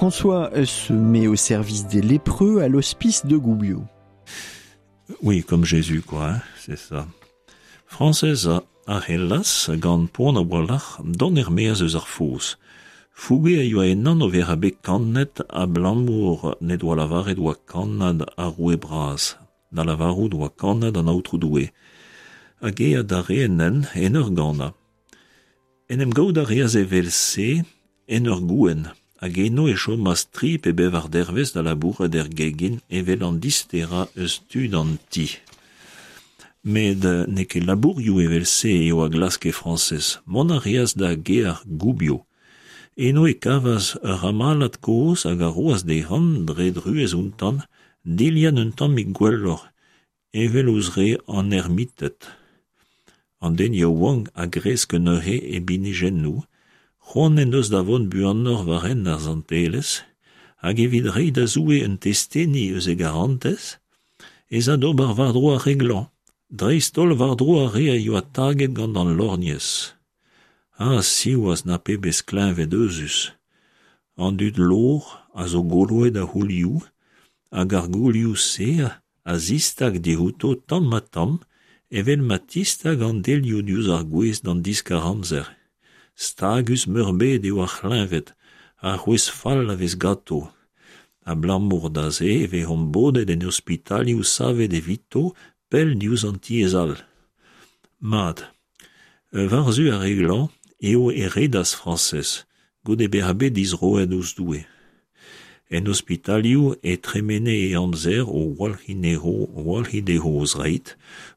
François se met au service des lépreux à l'hospice de Gubbio. Oui, comme Jésus, quoi, hein, c'est ça. Frañsez a c'hellas, gant poan a-walc'h, dont er-maez eus ar foz. Fouge a yoa ennan o vezañ bet kannet abalamour n'he doa lavaret oa kannad ar roue bras, da lavarout oa kannad an Aotrou Doue. Hag eñ adarre en hent en ur ganañ. En em gaout a reas evel-se en ur gouent, hag eno e chomas tri pe bevar dervezh da labourat er gegin evel an disterañ eus tud an ti. Met n'eo ket labourioù evel-se eo a glaske Frañsez, mont a reas da gêr Gubbio. Eno e kavas ur c'hamalad kozh hag a roas dezhañ, dre druez outañ, dilhad un tammig gwelloc'h, evel ouzh re an ermited. An den yaouank a gresk neuze e binijennoù, c'hoant en deus da vont buanoc'h war hent ar santelezh, hag evit reiñ da Zoue un testeni eus e garantez, ez a d'ober war-dro ar re glañv, dreist-holl war-dro ar re a yoa taget gant an lorgnez. Ha siwazh na pebezh kleñved euzhus ! An dud lovr a zo goloet a c'houlioù, hag ar goulioù-se a zistag diouto tamm-ha-tamm evel ma tistag an delioù diouzh ar gwez d'an diskar-amzer. Stagus-meurbet eo ar c'hleñved, ha c'hwezh fall a vez ganto. Abalamour da se e vezont bodet en ospitalioù savet evito pell diouzh an tiez all. Mat, war-zu ar re glañv eo e redas Frañsez, goude bezañ bet dizroet ouzh Doue. En ospitalioù e tremene e amzer o walc'hiñ walc'hiñ dezho o zreid,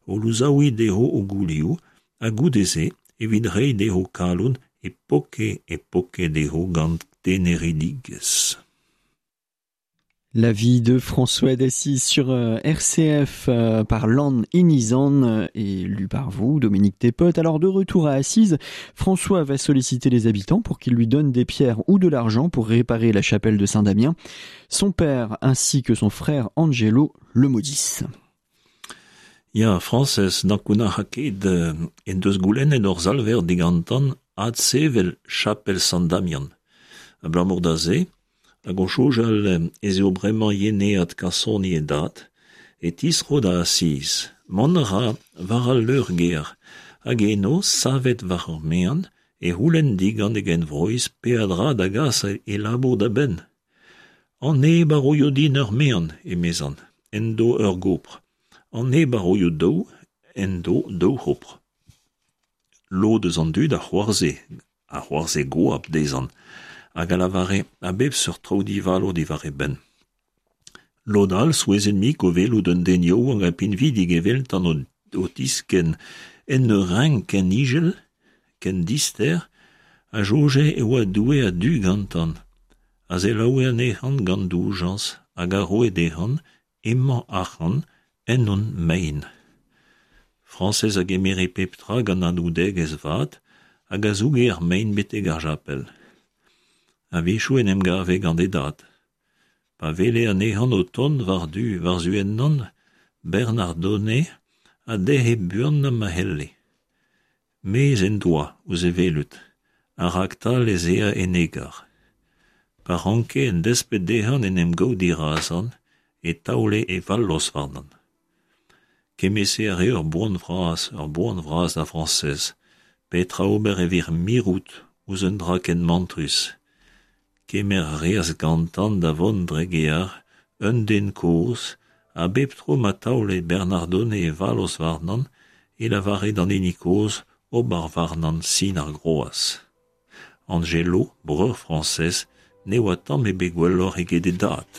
o louzaouiñ dezho o goulioù, ha goude-se, evit reiñ dezho kalon, e poke e poke dezho gant teneridigezh. La vie de François d'Assise sur euh, RCF euh, par Lan Inizan euh, et lu par vous, Dominique Thépote. Alors de retour à Assise, François va solliciter les habitants pour qu'ils lui donnent des pierres ou de l'argent pour réparer la chapelle de Saint-Damien. Son père ainsi que son frère Angelo le maudissent. Ya, Frañsez, n'ankounac'ha ket en deus goulennet hor Salver digantan adsevel chapel Sant-Damian. Abalamour da se, Hag o soñjal ez eo bremañ yeneat kasoni e dad, e tistro da Asiz. Mont a ra war al leur-gêr, hag eno, savet war ur maen, e c'houlenn digant e genvroiz peadra da gas e labour da benn. An neb a roio din ur maen, emezan, en do ur gopr. An neb a roio daou, en do daou c'hopr. Lod eus an dud a c'hoarzhe, a c'hoarzhe goap dezhañ hag a lavare a bep seurt traoù divalo diwar e benn. Lod all souezhet-mik o welout un den yaouank ha pinvidik eveltañ o tiskenn en ur renk ken izel, ken dister, a soñje e oa Doue a-du gantañ, a selaoue anezhañ gant doujañs hag a roe dezhañ emañ arc'hant ennon mein. Frañsez a gemere pep tra gant anaoudegezh vat hag a zouge ar mein betek ar chapel. A-wechoù en em gave gant e dad. Pa wele anezhañ o tont war-du war-zu ennon, Bernardone a dec'he buanañ ma c'helle. Mezh en doa ouzh e welout, ha raktal ez ea en egar. Pa ranke en desped dezhañ en em gaout dirazañ e taole e vallozh warnañ. Kement-se a rae ur boan vras, ur boan vras da Frañsez. Petra ober evit mirout ouzh un dra ken mantrus? Kemer a reas gantañ da vont dre gear un den kozh ha bep tro ma taole Bernardone e vallozh warnañ e lavare d'an hini kozh ober warnañ sin ar groaz. Angelo, breur Frañsez, ne oa tamm ebet gwelloc'h eget e dad.